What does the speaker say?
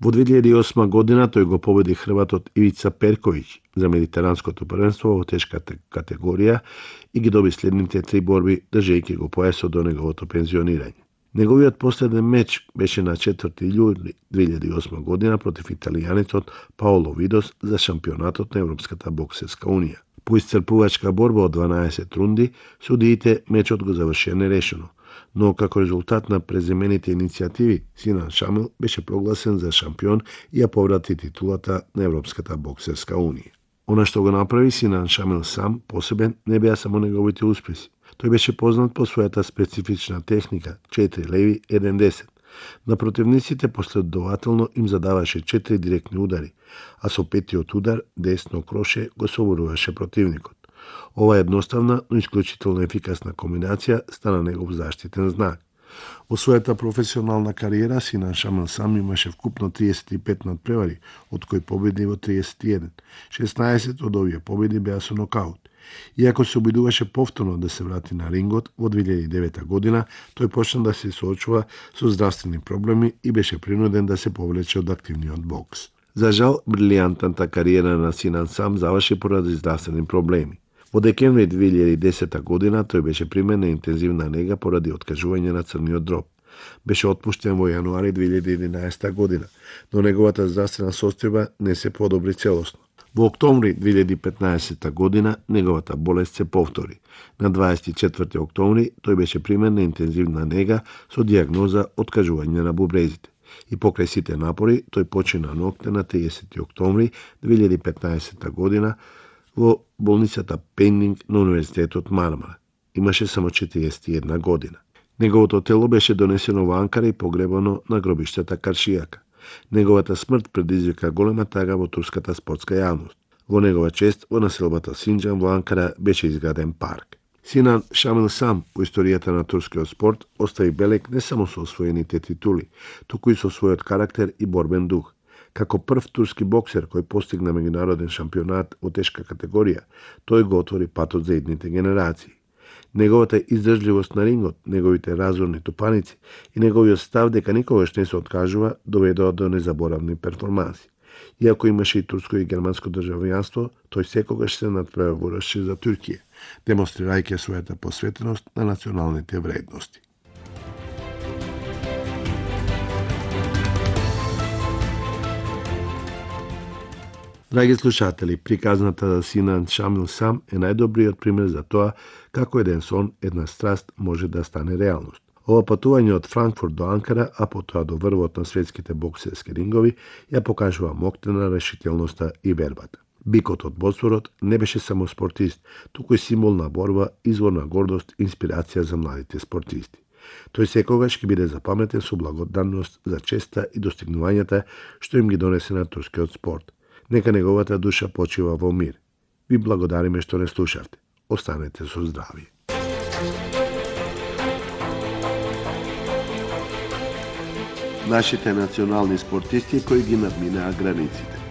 Во 2008 година тој го победи хрватот Ивица Перковиќ за медитеранското првенство во тешката категорија и ги доби следните 3 борби, држејќи го појасот до неговото пензионирање. Неговиот последен меч беше на 4 јули 2008 година против италијанецот Паоло Видос за шампионатот на Европската боксерска унија. По исцрпувачка борба од 12 рунди, судиите мечот го завршија нерешено, но како резултат на преземените иницијативи, Синан Шамил беше прогласен за шампион и ја поврати титулата на Европската боксерска унија. Она што го направи Синан Шамил сам, посебен, не беа само неговите успеси. Тој беше познат по својата специфична техника 4 леви 1 десен. На противниците последователно им задаваше 4 директни удари, а со петиот удар десно кроше го соборуваше противникот. Ова едноставна, но исклучително ефикасна комбинација стана негов заштитен знак. Во својата професионална кариера Синан Шамил сам имаше вкупно 35 надпревари, од кои победи во 31. 16 од овие победи беа со нокаут. Иако се обидуваше повторно да се врати на рингот во 2009 година, тој почна да се соочува со здравствени проблеми и беше принуден да се повлече од активниот бокс. За жал, брилијантната кариера на Синан сам заврши поради здравствени проблеми. Во декември 2010 година тој беше примен на интензивна нега поради откажување на црниот дроб. Беше отпуштен во јануари 2011 година, но неговата здравствена состојба не се подобри целосно. Во октомври 2015 година неговата болест се повтори. На 24 октомври тој беше примен на интензивна нега со дијагноза откажување на бубрезите. И покрај сите напори, тој почина нокте на 30 октомври 2015 година во болницата Пенинг на Универзитетот Мармара. Имаше само 41 година. Неговото тело беше донесено во Анкара и погребано на гробиштата Каршијака. Неговата смрт предизвика голема тага во турската спортска јавност. Во негова чест, во населбата Синџан во Анкара беше изграден парк. Синан Шамил сам во историјата на турскиот спорт остави белег не само со освоените титули, туку и со својот карактер и борбен дух. Како прв турски боксер кој постигна меѓународен шампионат во тешка категорија, тој го отвори патот за идните генерации. Неговата издржливост на рингот, неговите разорни тупаници и неговиот став дека никогаш не се откажува доведоа до незаборавни перформанси. Иако имаше и турско и германско државјанство, тој секогаш се надпреваруваше за Туркија, демонстрирајќи својата посветеност на националните вредности. Драги слушатели, приказната за Синан Шамил сам е најдобриот пример за тоа како еден сон, една страст може да стане реалност. Ова патување од Франкфурт до Анкара, а потоа до врвот на светските боксерски рингови, ја покажува моќта, решителноста и вербата. Бикот од Босфорот не беше само спортист, туку и символ на борба, извор на гордост, инспирација за младите спортисти. Тој секогаш ќе биде запаметен со благодарност за честа и достигнувањата што им ги донесе на турскиот спорт. Нека неговата душа почива во мир. Ви благодариме што не слушавте. Останете со здравје. Нашите национални спортисти кои ги надминаа границите.